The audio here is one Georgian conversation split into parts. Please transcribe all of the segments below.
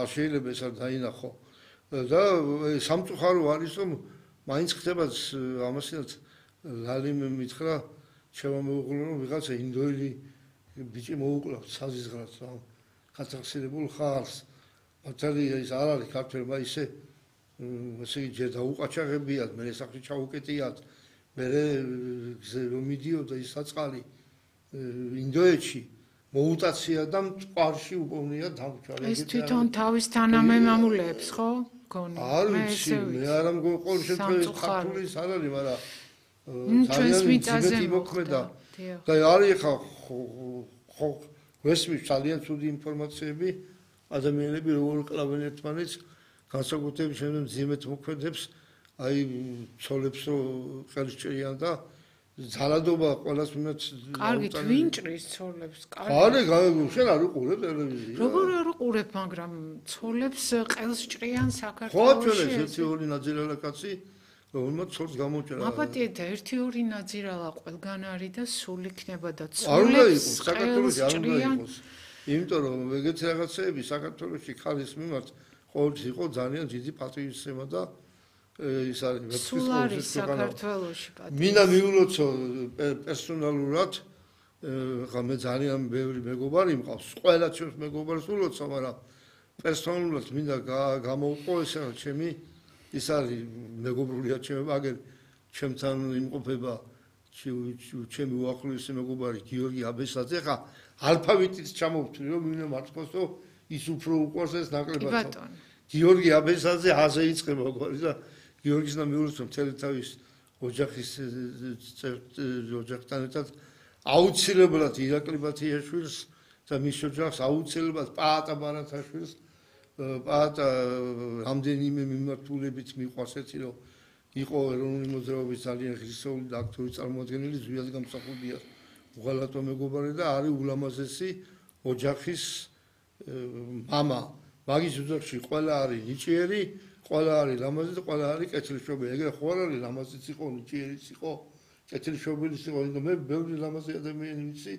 შეიძლება ეს არ დაინახო და სამწუხარო არის რომ მაინც ხდება ამასინაც ლალიმ მითხრა ჩემო მეუღლე რომ ვიღაცა ინდოელი ბიჭი მოუკლავთ საზიზღრად რა გასახსენებულ ხალხს მართალია ის არ არის ქართველმა ისე ისე ჯერ დაუყაჩაღებიათ მე სახში ჩაუკეტიათ მე რომ მიდიოდა ის საწყალი ინდოეთში მოუტაცია და მწყარში უპოვნია დამჭარი ეს თვითონ თავის თანამემამულეებს ხო გონი მე არ ამგონი ყოველ შემთხვევაში ქართული არ არის მაგრამ ჩვენს მიწაზე მოქმედა და არის ხო ვესმის ძალიან ცუდი ინფორმაციები ადამიანები როგორ კლავენ ერთმანეთს განსაკუთრებით შემდგომ ძიმეთ მოქმედებს აი ცოლებს რო ხელს ჭრიან და ძალადობა ყველას მიმართ კარგით ვინჭრის ცოლებს კარგი შენ არ უყურებ ტელევიზია როგორ არ უყურებ მაგრამ ცოლებს ყელს ჭრიან საქართველოში ხო ჩვენს ერთი ორი ნაძირალა კაცი რომელმაც ცოლს გამოჭრა აპატიეთ ერთი ორი ნაძირალა ყველგან არის და სულ იქნება და ცოლებს საქართველოში არ უნდა იყოს იმიტომ რომ ეგეთი რაღაცეები საქართველოში ხალის მიმართ ყოველთვის იყო ძალიან დიდი პატრიოტიზმი და ის არის სულ არის საქართველოში პატრიოტიზმი მინდა მიულოცო პერსონალურად ხა მე ძალიან ბევრი მეგობარი მყავს ყველა ჩვენს მეგობარს ულოცო მაგრამ პერსონალურად მინდა გამოვყო ეს რა ჩემი ის არის მეგობრულია ჩემი მაგერ ჩემთან იმყოფება ჩემი უახლოესი მეგობარი გიორგი აბესაძე ხა ალფავიტით ჩამოვთვლი რომ მინდა მართლაც რომ ის უფრო უყვარს ეს ნაკლებად გიორგი აბესაძე აზე იწყება გვარი და გიორგის და მიულოცო მთელი თავის ოჯახის ოჯახთან ერთად აუცილებლად ირაკლი ბათიაშვილს და მის ოჯახს აუცილებლად პაატა ბარათაშვილს პაატა რამდენიმე მიმართულებით მიყვარს ერთი რომ იყო ეროვნული მოძრაობის ძალიან ღირსეული და აქტიური წარმომადგენელი ზვიად გამსახურდია უღალატო მეგობარი და არის ულამაზესი ოჯახის მამა მაგის ოჯახში ყველა არის ნიჭიერი ყველა არის ლამაზი და ყველა არის კეთილშობილი ეგრე ხო არ არის ლამაზიც იყო ნიჭიერიც იყო კეთილშობილიც იყო და მე ბევრი ლამაზი ადამიანი ვიცი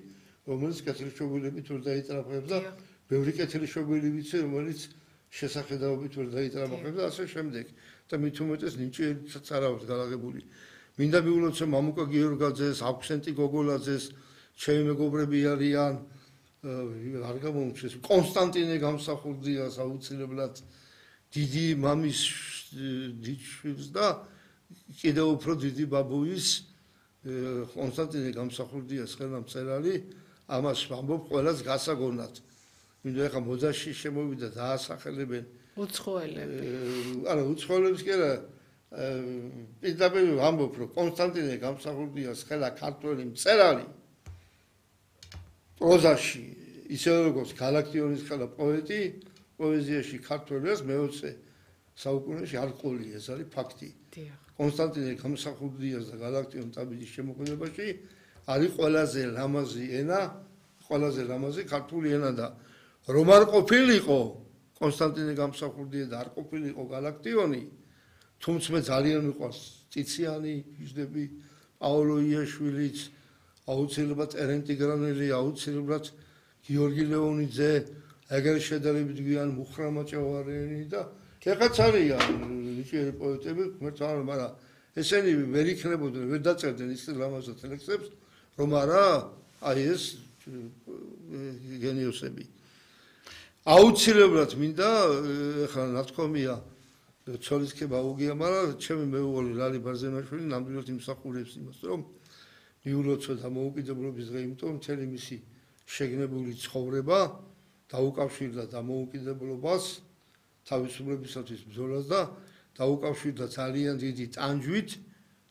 რომელიც კეთილშობილებით ვერ დაიტრაფებს და ბევრი კეთილშობილი ვიცი რომელიც შესახედაობით ვერ დაიტრაფებს და ასე შემდეგ და მით უმეტეს ნიჭიერიცაც არ აქვს გადაღებული მინდა მიულოცო მამუკა გიორგაძეს აქვსენტი გოგოლაძეს ჩემი მეგობრები არიან არ გამომჩეს კონსტანტინე გამსახურდიას აუცილებლად დიდი მამის დიჩვილს და კიდევ უფრო დიდი ბაბუის კონსტანტინე გამსახურდიას ხელმწერალი ამას ვამბობ ყველას გასაგონად მინდა ეხა მოდაში შემოვიდა დაასახელებენ უცხოელები არა უცხოელებს კი არა პირდაპირ ვამბობ რომ კონსტანტინე გამსახურდიას ხელა ქართველი მწერალი პროზაში ისე როგორც გალაქტიონის ხელა პოეტი პოეზიაში ქართველებს მე-20 საუკუნეში არ ყოლია ეს არის ფაქტი კონსტანტინე გამსახურდიას და გალაქტიონ ტაბიძის შემოქმედებაში არის ყველაზე ლამაზი ენა ყველაზე ლამაზი ქართული ენა და რომ არ ყოფილიყო კონსტანტინე გამსახურდია და არ ყოფილიყო გალაქტიონი თუმცა მე ძალიან მიყვარს წიციანი ჟდები პაოლო იაშვილიც აუცილებლად ტერენტი გრანელი აუცილებლად გიორგი ლეონიძე ეგრე შედარებით გვიან მუხრამა ჭავარიანი და ეხაც არიან ნიჭიერი პოეტები მაგრამ ესენი ვერ იქნებოდნენ ვერ დაწერდნენ ის ლამაზად ლექსებს რომ არა აი ეს გენიოსები აუცილებლად მინდა ეხლა ნათქვამია ცოლისქება უგია მაგრამ ჩემი მეუღლე ლალი ბარზენაშვილი ნამდვილად იმსახურებს იმას რომ მიულოცო დამოუკიდებლობის დღე იმიტომ მთელი მისი შეგნებული ცხოვრება დაუკავშირდა დამოუკიდებლობას თავისუფლებისათვის ბრძოლას და დაუკავშირდა ძალიან დიდი ტანჯვით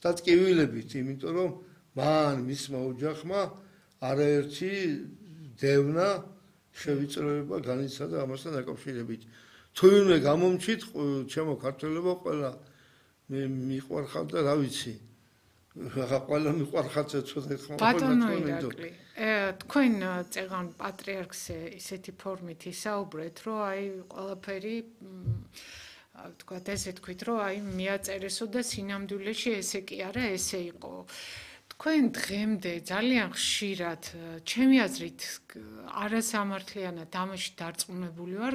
და ტკივილებით იმიტომ რომ მან მისმა ოჯახმა არაერთი დევნა შევიწროება განიცადა ამასთან დაკავშირებით თუ ვინმე გამომჩით ჩემო ქართველებო ყველა მიყვარხავთ და რა ვიცი ყველა მიყვარხავთ ცოტა ხომ ბატონო ირაკლი თქვენ წეღან პატრიარქზე ისეთი ფორმით ისაუბრეთ რომ აი ყველაფერი თქვათ ესე თქვით რომ აი მიაწერესო და სინამდვილეში ესე კი არა ესე იყო თქვენ დღემდე ძალიან ხშირად ჩემი აზრით არასამართლიანად ამაში დარწმუნებული ვარ